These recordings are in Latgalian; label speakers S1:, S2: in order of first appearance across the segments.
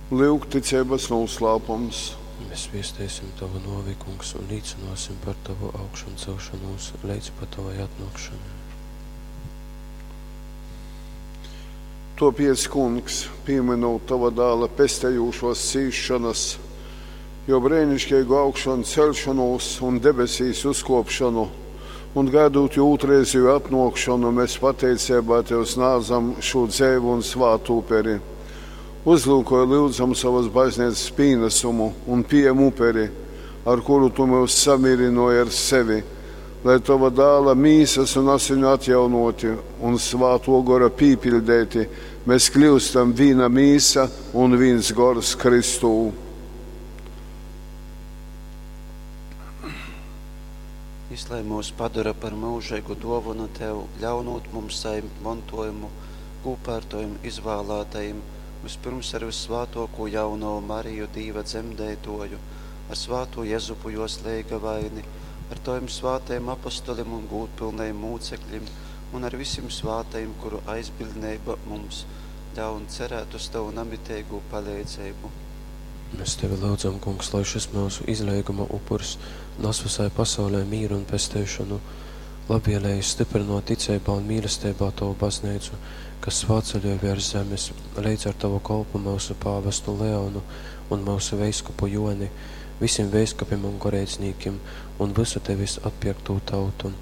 S1: Lyuk ticeibas nūslāpums.
S2: Mēs viesteisim Tavu nōvi, Kungs, un līcynōsim par Tavu augšancelšonūs leidz pat Tovai atnōkšonai.
S1: Tōpēc, Kungs, pīmynūt Tova Dāla pestejūšōs cīsšonas, Jō breiniškeigu augšanceļšonūs un debesīs uzkōpšonu, un gaidūt Jō ūtrreizeju atnōkšonu, mes pateiceibā Tev snādzam šū dzeivu un svātu uperi. Uzlyukoj, lyudzam, sovas bazneicas pīnasumu un pījem uperi, ar kuru Tu myus samīrynōji ar sevi, lai Tova Dāla mīsas un asiņu atjaunōti un Svātō Gora pīpiļdeiti, mēs kļyustam vīna mīsa un vīns gors Kristū.
S3: Jys lai myus padora par myužeigu dōvonu Tev, ļaunūt mums sajimt montōjumu kūpā ar Tovim izvālātajim, vyspyrms ar vyssvātōkū Jaunovu Mariju, Dīva dzemdeitōju, ar svātū Jezupu jōs leigavaini, ar Tovim svātajim apostolim un gūdpylnajim mūceklim un ar visim svātajim, kuru aizbiļdneiba mums ļaun cerēt uz Tovu namiteigū paleidzeibu.
S2: Mēs Tevi lyudzam, Kungs, lai šys myusu izleiguma upurs nas vysai pasaulei mīru un pesteišonu. Labvēlīgi styprynōt ticeibā un mīlesteibā Tovu bazneicu, kas svātceļoj vērs zemes, leidz ar Tovu kolpu myusu pāvestu Leonu un myusu veiskupu Jōni, visim veiskupim un goreidznīkim un vysu Tevis atpierktū tautu.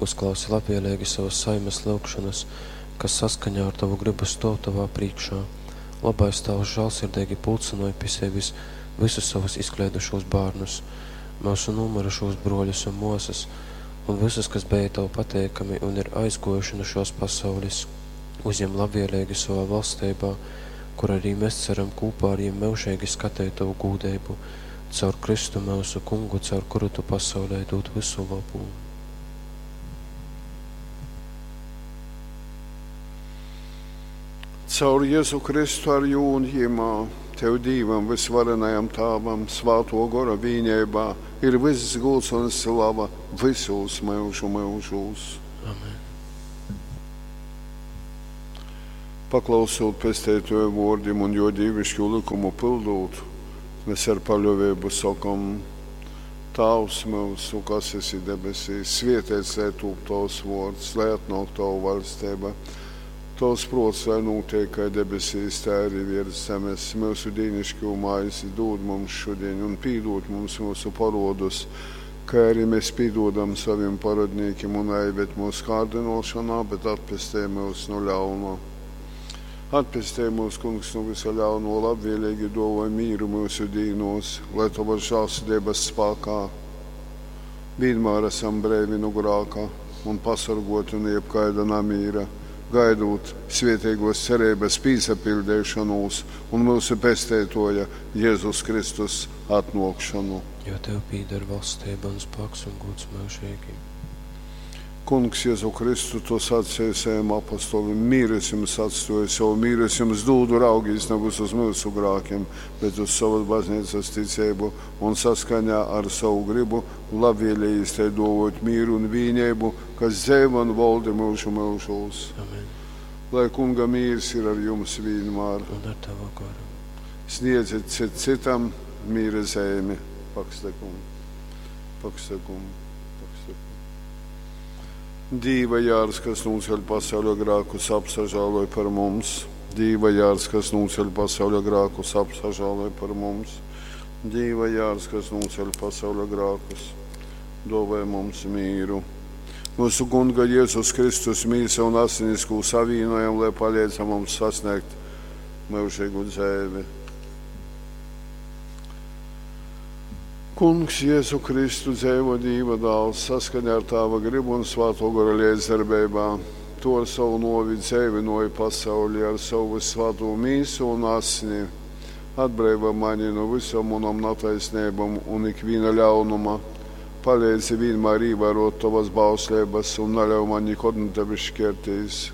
S2: Uzklausi labvēlīgi savas saimes lyugšonas, kas saskaņā ar Tovu gribu stōv Tovā prīškā. Lobais Tāvs žālsirdeigi pulcynoj pi sevis visus savus izkleidušūs bārnus, myusu nūmyrušūs brōļus un mōsas, un visus, kas beja Tev pateikami un ir aizgōjuši nu šōs pasaules, uzjem labvēlīgi sovā valsteibā, kur arī mēs ceram kūpā ar jim myužeigi skateit Tovu gūdeibu, caur Kristu myusu Kungu, caur kuru Tu pasaulei dūd vysu lobu.
S1: Caur Jezu Kristu ar jū un jimā, Tev Dīvam vysvarenajam Tāvam, Svātō Gora vīneibā ir vyss gūds un slava vysūs myužu myužūs.
S2: Amen.
S1: Paklausūt Pesteitōja vōrdim un jō dīviškū lykumu pyldūt, mes ar paļōveibu sokom: Tāvs myusu, kas esi debesīs, svēteits lai tūp Tovs vōrds, lai atnōk Tova vaļsteiba. Tovs prōts lai nūteik kai debesīs, tai arī viers zemes. Myusu dīniškū maizi dūd mums šudiņ un pīdūd mums myusu porodus, kai arī mēs pīdūdam savim parodnīkim, un naīved mūsu kārdinošanā, bet atpestej mūs no ļauna. Atpestej mūs, Kungs, no visa ļauno, labvēlīgi dāvoj mīru mūsu dīnos, lai Tavas žēlsirdības spēkā vienmēr esam breivi no grāka un pasargoti no jebkaida namīra, gaidot svētīgos cerības pīsapildīšanos un mūsu pesteitoja Jēzus Kristus atnākšanu.
S2: Jo Tev pīder valstība un spēks un gods mūžīgi.
S1: Kungs, Jēzu Kristu, Tu sacīji saviem apostolim, mīru es jums atstāju, savu mīru es jums dūdu, raugīs nevis uz mūsu grākiem, bet uz savas baznīcas ticību un saskaņā ar savu gribu labvēlījis te dovot mīru un vīnību, kas dzeivo un valdi mūžu mūžos.
S2: Amen.
S1: Lai Kunga mīrs ir ar jums vienmēr.
S2: Un ar Tavu goru.
S1: Sniedziet cit citam mīra zīmi. Pakstakumu, pakstakumu, pakstakumu. Dīva jārs, kas nūceļ pasauļa grākus, apsažāloj par mums. Dīva jārs, kas nūceļ pasauļa grākus, apsažāloj par mums. Dīva jārs, kas nūceļ pasauļa grākus, dāvāj mums mīru. Mūsu Kunga Jēzus Kristus mīsa un asinis, ko savīnojam, lai palīdz mums sasniegt mūžīgu dzīvi. Kungs, Jēzu Kristu, dzēvo Dīva dāls, saskaņā ar Tāva gribu un Svāto Gora līdzdarbeibā. Tu ar savu novi dzēvinoji pasauli, ar savu svāto mīsu un asni. Atbrīvo mani no visam manam nataisnībām un ikviena ļaunuma. Palīdzi vienmēr ievērot tavas bauslības un neļauj man nekad no tevis šķirties.